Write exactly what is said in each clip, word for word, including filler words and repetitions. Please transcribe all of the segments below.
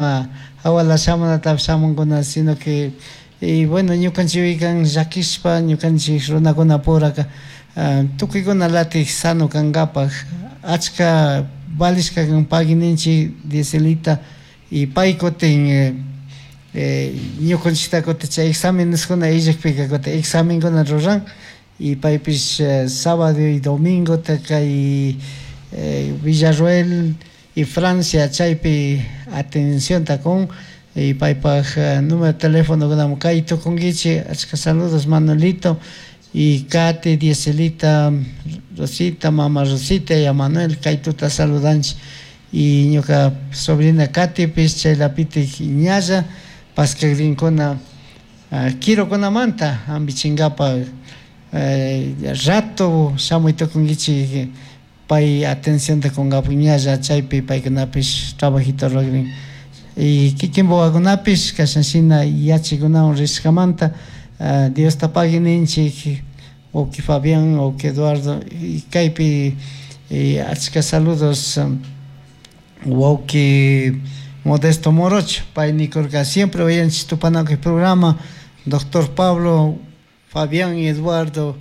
Hawala shamunatapish shamunkuna, sino que y bueno, ñukanchikpikan llakishpa ñukanchik runakunapuraka tukuykuna latik sano kankapak achka valishka kan pagui ninchik Dieselita y pay kutin ñukanchikta kutin chay exámeneskuna illakpika kutin examenkuna ruran y paypish sábado y domingota kay Villarroel y Francia chaypi atencionta kun y paypak número de teléfono kay tukunkichik. Achka saludos, Manuelito y Katy, Dieselita, Rosita, mama Rosita y a Manuel kay tuta saludanchik. Y ñuka sobrina Katypish chaylapitik ñalla paskakrinkuna quirokunamanta hampichinkapak rato shamuy tukunkichik pay atencionta kunkapak ñalla chaypi paykunapish trabajito rurakrin. Y kikin wawakunapish kashan shina yachaykunawan rishkamanta Diosta pagui ninchik, wawki Fabián, wawki Eduardo. Y kaypi achka saludos wawki Modesto Morocho, pay nikurka siempre uyanchik Tupanakuy programa, doctor Pablo, Fabián y Eduardo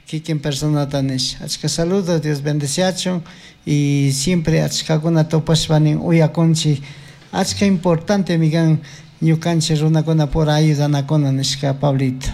kikin personata nish. Achka saludos, Dios bendeciachun y siempre achkakuna tupashpa nin uyakunchik, achka importante kan ñukanchik runakunapura ayudanakuna nishka, Pablito.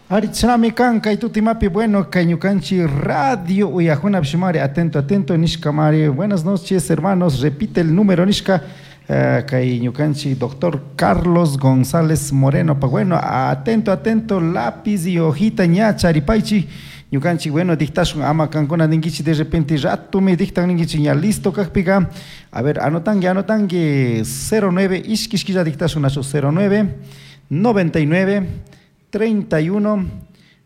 Ari chami kan kay tutimapi, bueno, kay ñukanchik radio uyajuna mari atento, atento nishka mari. "Buenas noches, hermanos, repite el número" nishka uh, kay ñukanchik doctor Carlos González Moreno pa. Bueno, atento, atento, lápiz y hojita ña charipaichi. Ñukanchik, bueno, dictashun, ama kankuna ninkichi de repente ratumi dictan ninkichi ña listo kakpika. A ver, anotangi, anotangi, cero nueve, ishki ishkilla dictashun nachu, cero nueve noventa y nueve treinta y uno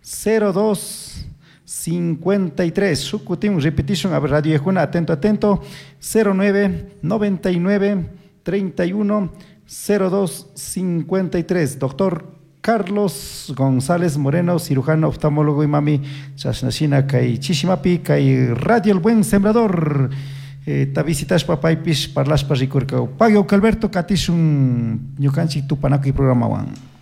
cero dos cincuenta y tres. Shukutin repetition, a ver, radio ejuna, atento, atento, cero nueve noventa y nueve treinta y uno cero dos cincuenta y tres. Doctor Carlos González Moreno, cirujano oftalmólogo y mami chashnashina kay chishimapi kay Radio El Buen Sembrador eh, ta visitashpa paypish parlashpa rikurka. Pagui, Alberto, katishun ñukanchik Tupanakuy programawan.